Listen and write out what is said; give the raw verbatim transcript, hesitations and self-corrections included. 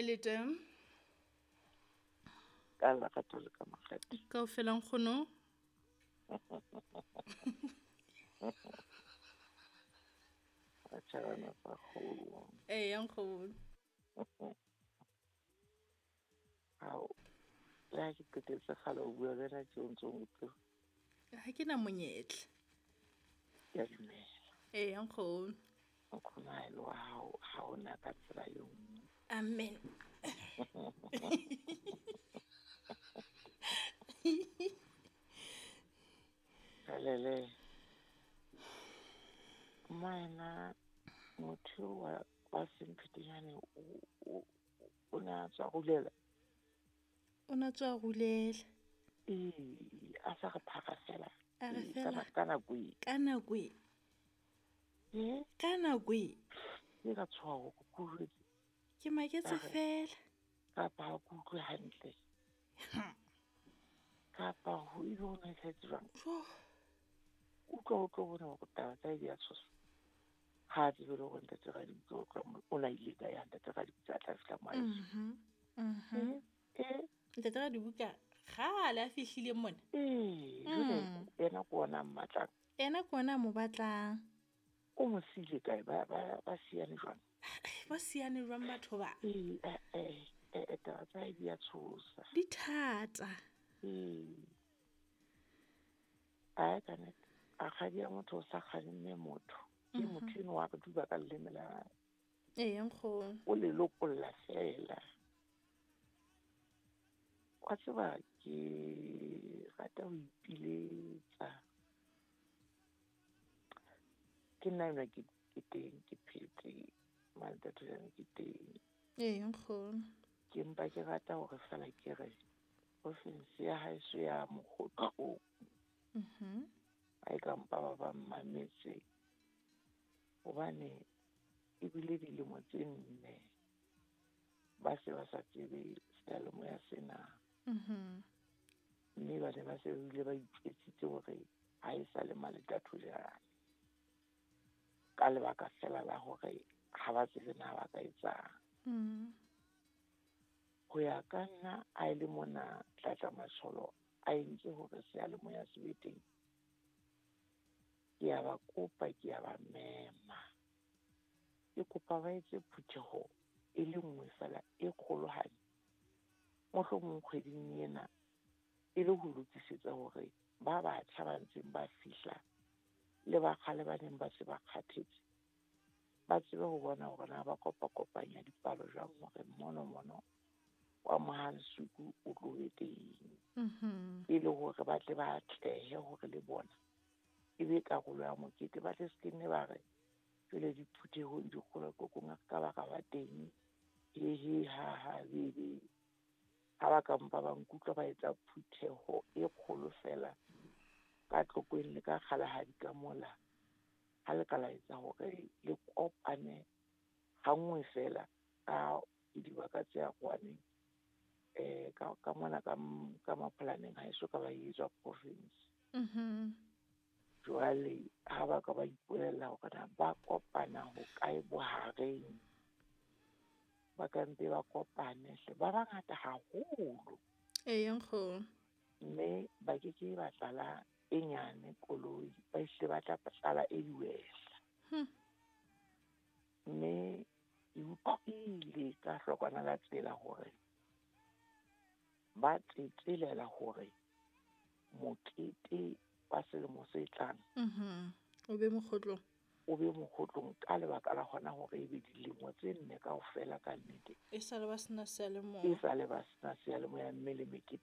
Hae le teng? Ka lerato le ka makgethe. Kaofela nkgono. Batjhabana sa kgolo. Eya nkgono. Hao, le ha ke qetetse kgale ho bua le wena tje o ntso nkutlwe. Ha ke na monyetla. Ke a dumela. Eya nkgono. Nkgono ha e le wa hao, ha hona ka tsela e nngwe. Amen. Helele. Mmaena motho wa wa Semphetenyane o o o na tswa rulela. O na tswa rulela. Ee, a sa re phara fela. A re Ee, fela. Ka ka nako e. Ka nako e. Eh? Ka nako e. Ke ka tshoha hore ke jwetse. Ke maketse Ka re, fela. Kapa ha ke utlwe hantle. Kapa ho ile ho na etsahetse jwang? Jo. Utlwa o tlo bona hore taba tsa hae di a tshosa. Ha a tsebe le hore ntate Radibuka o tloha mo, o na ile kae ha ntate Radibuka a tla fihla mo haeso. Mhm. Mhm. Eh, eh. Ntate Radibuka kgale a fihlile mona. Ee, jwale Mm. yena ke ona a mmatlang. Yena ke ona a mo batlang. O mo siile kae? Ba, ba, ba siane jwang? Ba siane jwang batho ba? Ee, eh, eh, eh, taba tsa hae di a tshosa. Di thata. Ee. Ae, ka nnete. Rakgadi ya motho o sa kgalemme motho. Ke Mhm. motho enwa wa re duba ka leleme la hae. Eya nkgono. O le lokolla fela. Wa tseba ke rata ho ipiletsa. Ke nna enwa ke, ke teng, ke phetse, Maletatojane ke teng. Eya nkgono. Ke mpa ke rata hore fela ke re province ya haeso ya Mokgotlong. Mhm. Ha e ka mpa ba ba mmametse. Hobane ebile dilemo tse nne ba se ba sa tsebe seyalemoya sena. Mhm. Mme ba ne ba se bile ba itjwetsitse hore ha e sa le Maletatojane. Ka lebaka fela la hore ha ba tsebe na ba ka etsang. Mm. Ho ya ka nna a e le mona Tlatla Matsholo a entse hore seyalemoya se be teng. Ke a ba kopa, ke a ba mema. Ke kopa ba etse phutheho e le nngwe fela e kgolohadi. Mohlomong kgweding ena e le ho lokisetsa hore ba batjha ba ntseng ba fihla le ba kgale ba neng ba se ba kgathetse, ba tsebe ho bona hore na ba kopa-kopanya dipalo jwang hore mono mono wa Mohansuku o tlo be teng. Mhm. E le hore ba tle ba atlehe hore le bona e be karolo ya mokete, ba tle se ke nne ba re jwale diphuthehong dikgolokokong a ka ba ka ba teng, he he ha ha be be. Ha ba ka mpa ba nkutlwa ba etsa phutheho e kgolo fela ka Tlokweng le ka Kgalahadi ka mola, ha le ka la etsa hore le kopane ha nngwe fela ka dibaka tse arohaneng. Eh, ka, ka mona ka m-, ka Mapholaneng ha eso ka ba etswa province. Mhm. Jwale ha ba ka ba ipolella hore na ba kopana ho kae bohareng, ba ka mpe ba kopane hle, ba bangata haholo. Eya nkgono. Mme ba ke ke ba tlala e nyane koloi, ba hle ba tla tlala e diwehla. Hmm. Mme ke utlwile ka hlokwana la tsela hore ba tsetselela hore mokete wa selemo se tlang Mhm. O be mokgotlong. O be mokgotlong ka lebaka la hona hore ebe dilemo tse nne kaofela ka nnete. E sale ba sena seyalemoya. E sale ba sena seyalemoya mme le mekete